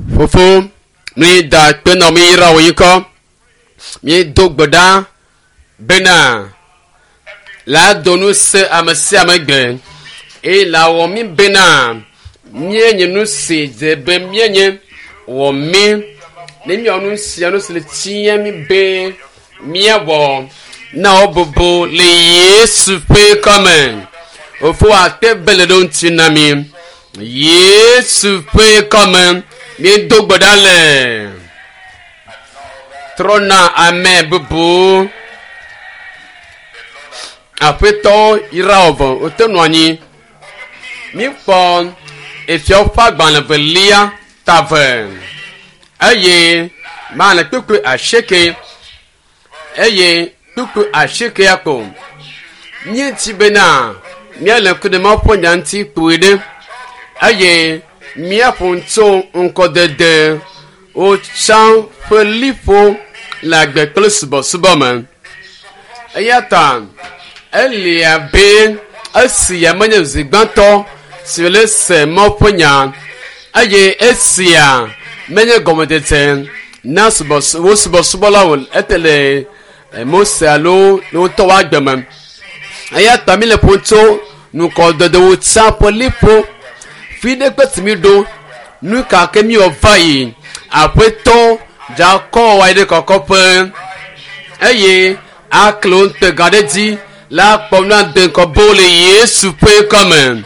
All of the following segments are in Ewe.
Fofo, mi da akpe nɔ mi yra wò ŋkɔ. Míedo gbe ɖa bena la do nu se ame sia ame gbe eye la wɔ mí bena míenye nu si dze be míenye wɔ mí ne míawɔ nu sia nu si le tia mí be míawɔ na wo bubu le Yesu ƒe ŋkɔme. Fofo akpe be le ɖo ŋuti na mí. Yesu ƒe ŋkɔme míedo gbe ɖa le trɔna ame bubu aƒetɔ yra wò vɔ wote nɔ anyi míkpɔ efiawo ƒe agbalẽ velia ta ve eye maale kpukpui asieke eye kpukpui asiekea ko míeti bena míale ŋku ɖe Mawu ƒe nya ŋuti kpui ɖe eye míaƒo nu tso ŋkɔdede wotsã ƒe liƒo le agbe kple subɔsubɔ me. Eya ta eli abe esia menye zi gbãtɔ si wòle se Mawu ƒe nya eye esia menye gɔmedzedze na subɔs wo subɔsubɔlawo ete le Mose alo le wo ŋutɔ wo agbe me. Eya ta míle ƒom tso ŋkɔdedewo tsã ƒe liƒo fi ɖe kpe si míɖo nu ka ke míwɔ va yi aƒetɔ dze akɔ wa yi ɖe kɔkɔƒe eye akle wo ŋutega ɖe dzi la kpɔ nu ade ŋkɔ bo le Yesu ƒe ŋkɔme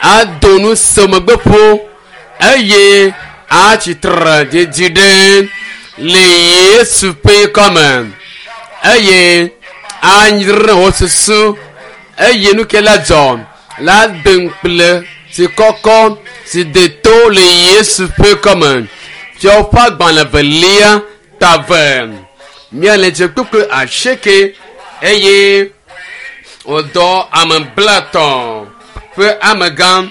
ado nu se megbe ƒo eye atsitre didi ɖe le Yesu ƒe ŋkɔme eye anyre wo susu eye nu ke la dzɔ la de ŋukple si kɔkɔ si de to le Yesu ƒe ŋkɔme. Fiawo ƒe agbalẽ velia ta ve míale dze kpukpui asieke eye wòdɔ ame blatɔ̃ ƒe amegã.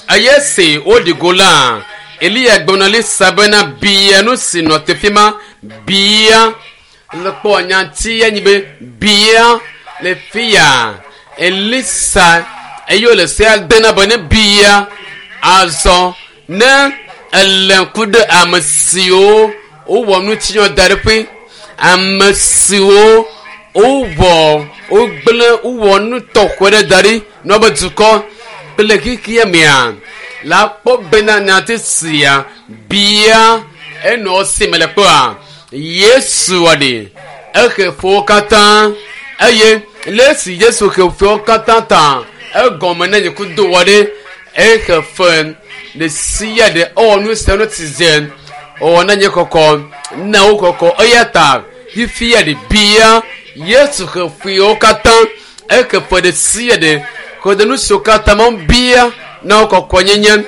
Eye esi woɖi go la, Eliya gblɔ na Elisa bena bia nu si nɔ teƒe ma bia le kpɔ nyati ya nyi be bia le fi ya Elisa eye wòle sea de na be ne bia azɔ ne ele ŋku ɖe ame siwo wowɔ ŋutinya da ɖe ƒe ame siwo wowɔ wogblẽ wowɔ nu tɔxɛ ɖe da ɖi na wobe dukɔ kple xexea mea la kpɔ bena nyati sia bia enɔ si me le kpɔa Yesu wɔ ɖi ehe ƒowo katã eye le esi Yesu he ƒowo katã ta egɔme ne nye kudo wɔ ɖi ehe fe ɖe sia ɖe ewɔ nu sia nu si dze ewɔ na nye kɔkɔ na wo kɔkɔ eya ta fifia ɖe bia Yesu he ƒowo katã ehe fe ɖe sia ɖe xɔ ɖe nu siwo katã ma bia na wo kɔkɔ nyenye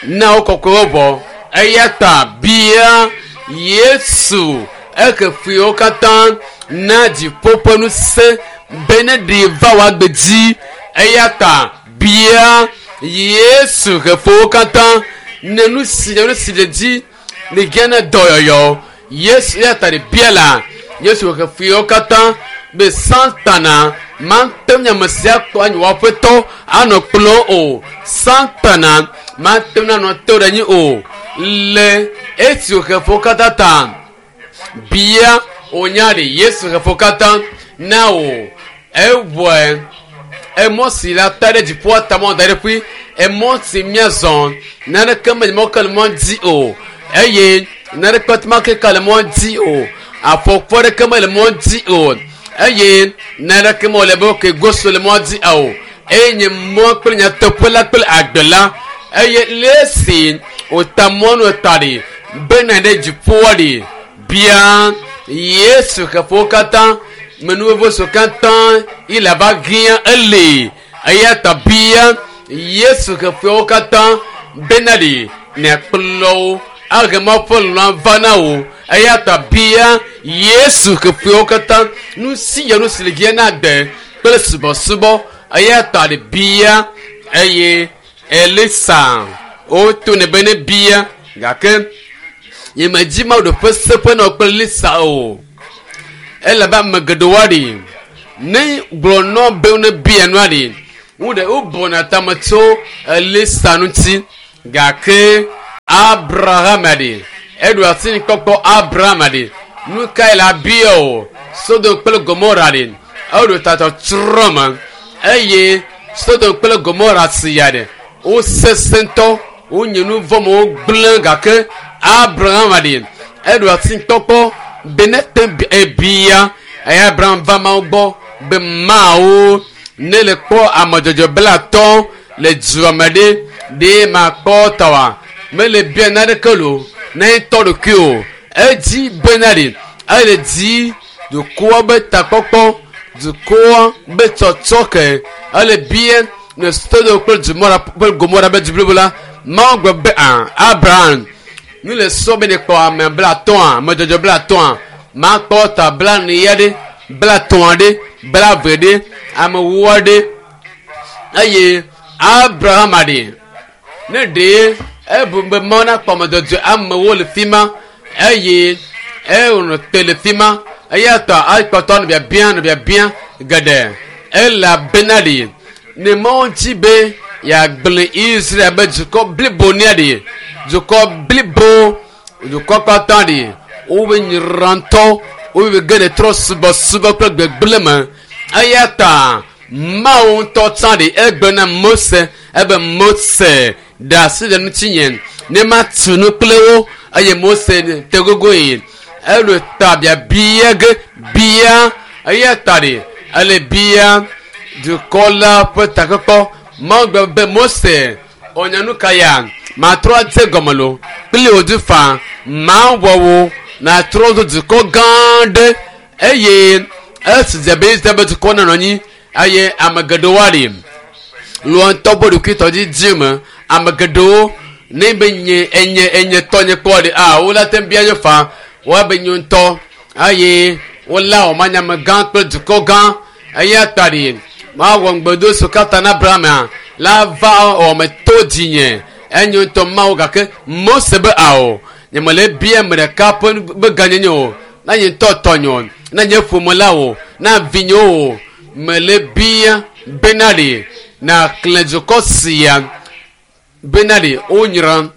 na wo kɔkɔe wɔwɔ eya ta bia Yesu ehe ƒowo katã na dziƒo ƒe ŋusẽ be ne ɖi va wò agbe dzi eya ta bia Yesu he ƒowo katã ne nu si nu si le dzi le gã na dɔyɔyɔ Yesu eya ta ɖe bia la Yesu he ƒowo katã be Satana mate ŋu ame sia kpɔ anyi wò aƒetɔ anɔ kplɔ o Satana mate ŋu anɔ te ɖe anyi o le esi wòhe ƒowo katã ta bia wònya ɖe Yesu he ƒowo katã na wò ewɔe emɔ si la ta ɖe dziƒoa ta mɔ da ɖe ƒui emɔ si míazɔ naneke mele mɔ ke le mɔ dzi o eye naneke ma ke ka le mɔ dzi o afɔkpɔ ɖeke mele mɔ dzi o eye naneke mele be ke goso le mɔ dzi o eye nye mɔ kple nyateƒe la kple agbe la eye le esi wòta mɔnu ta ɖi bena ɖe dziƒoa ɖi bia Yesu xeƒewo katã menuvevo siwo katã yi le ava hiã ele eya ta bia Yesu xeƒewo katã bena ɖi nàkplɔ wo ahe Mawu ƒe lɔlɔ̃ va na wò eya ta bia Yesu xeƒewo katã nu sia nu si le hiã na agbe kple subɔsubɔ eya ta ɖe bia eye Elisa woto ne be ne bia gake nyemedzi Mawu ɖe ƒe seƒe nɔ kple Elisa o elabe ame geɖewo aɖi ne gblɔ nɔ be ne bia nua ɖi wo ɖe wobɔna tame tso Elisa ŋuti gake Abraham ɖi eɖo asi kpɔkpɔ Abraham ɖi nu kae la bia o Sodom kple Gomora ɖi eɖo tatɔ trɔ me eye Sodom kple Gomora sia ɖe wosesẽ ŋutɔ wonye nu vɔ me wogblẽ gake Abraham ɖi eɖo asi kpɔkpɔ be ne te ebia eye Abraham va Mawu gbɔ be Mawu ne le kpɔ ame dzɔdzɔ 50 le dua me ɖe ɖe makpɔ tɔa mele bia naneke lo ne tɔ ɖokui o edzi bena ɖe ele dzi dukɔa be takpɔkpɔ dukɔa be tsɔtsɔ ke ele bia ne Sodom kple Gomora kple Gomora be du blibo la Mawu gblɔ be a Abraham nu le sɔ be ne kpɔ ame 50 ame dzɔdzɔ 50 makpɔ ta 40 ya ɖe 30 ɖe 20 ɖe ame 40 ɖe eye Abraham ɖe ne ɖe ebu be Mawu nakpɔ ame dzɔdzɔe amewo le fi ma eye ewɔnɔ te le fi ma eya ta akpɔtɔ nɔ biabia nɔ biabia geɖe elabena ɖe ne Mawu dzi be yeagblẽ Israel be dukɔ blibo nea ɖe dukɔ blibo dukɔ katã ɖe wobe nyrantɔ wobe ge ɖe trɔ subɔsubɔ kple gbegblẽ me eya ta Mawu ŋutɔ tsã ɖe egbe na Mose ebe Mose ɖe asi le ŋutinye ne matu nu kple wo eye Mose te gogoe eɖo ta biabia ge bia eya ta ɖe ele bia dukɔ la ƒe takpekpɔ Mawu gblɔ be Mose ɔnya nu ka ya matrɔ adze gɔme lo kple wò du fa mawɔ wo natrɔ do dukɔ gã ɖe eye esi dze be Israel be dukɔ nenɔ anyi eye ame geɖewo aɖi lɔ ŋutɔ be ɖokuitɔ didi me ame geɖewo ne be nye enye enye tɔ nye kpɔ ɖe a wo la te bia nye fa woa be nye ŋutɔ eye wola wɔ manyame gã kple dukɔ gã eya ta ɖi mawɔ ŋugbedo so katã na Abraham la va wɔme to dzinye enye ŋutɔ Mawu gake Mose be ao nye mele bia ame ɖeka ƒe be gãnyenye o na nye ŋutɔ tɔnye o na nye ƒome la o na vinye o mele bia bena ɖe na xlẽ dukɔ sia bena ɖe wonyra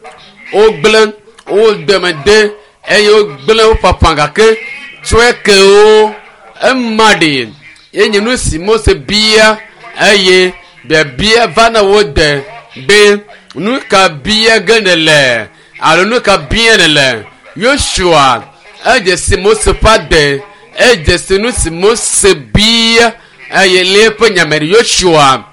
wogblẽ wodeme de eye wogblẽ wo ƒaƒã gake tsɔe ke wo ema ɖe enye nu si Mose bia eye biabia va na wo de be nu ka bia ge ne le alo nu ka bia ne le Yosua edze si Mose ƒe ade edze si nu si Mose bia eye le eƒe nyame ɖe Yosua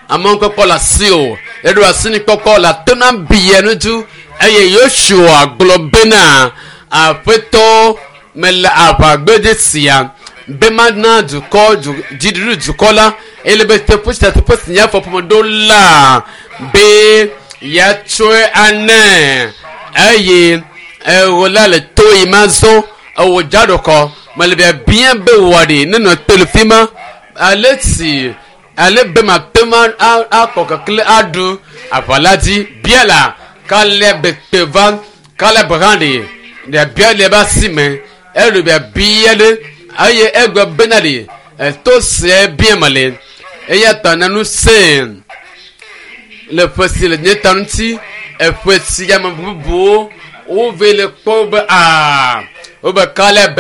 amewo kpɔkpɔ le asi o eɖo asi ni kpɔkpɔ le atona bia nu dzu eye Yosua gblɔ bena aƒetɔ mele aʋagbedzi sia be mana dukɔ dziɖuɖu dukɔ la ele be teƒe sia teƒe si nye afɔƒome ɖo la be yatsɔe ane eye ewo la le to yi ma zɔ ewo dzaɖokɔ mele biabia be wɔ ɖi nenɔ te le fi ma ale si ale be ma te ma akɔ kekle aɖu aʋa la dzi bia la Kaleb te va Kaleb hã ɖe biabia le ebe asi me eɖo biabia ɖe eye egbe bena ɖe eto sia bia me le eya ta na nu se le ƒe si le nye ta ŋuti eƒe si ame bubuwo wove le kpɔ be aa wobe Kaleb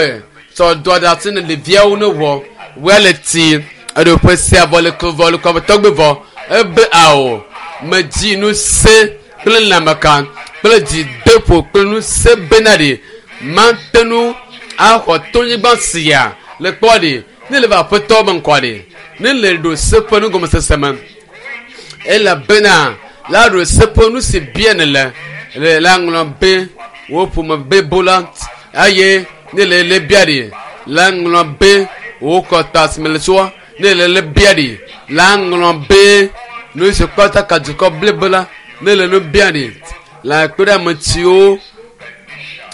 tsɔ do ɖe asi ne ɖeviawo ne wɔ woa le ti eɖo ƒe sia vɔ le ko vɔ le kɔme tɔgbe vɔ ebe ao medzi nu se kple lãmeka kple dzideƒo kple nu se bena ɖe mate nu axɔ tonyigba sia le kpɔ ɖe ne le va aƒetɔ be ŋkɔ ɖe ne le ɖo se ƒe nugɔmesese me elabena la ɖo se ƒe nu si bia ne le le la ŋlɔ be wo ƒome bebo la eye ne le le bia ɖe la ŋlɔ be wo kɔta si me le tsoa ne le le bia ɖe la ŋlɔ be nu si kpata ka dukɔ blibo la ne le nu bia ɖe la kpe ɖe ame siwo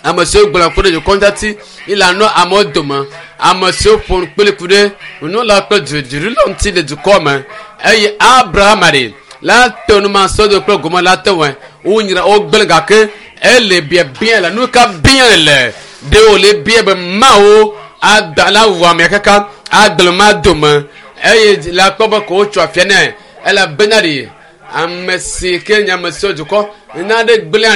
ame siwo gblɔ ku ɖe dukɔ ŋutati yi la nɔ amewo dome ame siwo ƒo nu kpli ku ɖe nunɔla kple dziɖula ŋuti le dukɔ me eye Abraham ɖe la te nu ma Sodom kple Gomora la te wɔe wonyra wogblẽ gake ele biabia la nu ka bia le ɖe wòle bia be Mawu ada la wɔ amea kaka agblẽ ma dome eye la kpɔ be ko wotsɔ afia nɛ elabena ɖe ame si ke nye ame siwo dukɔ nane gblẽa.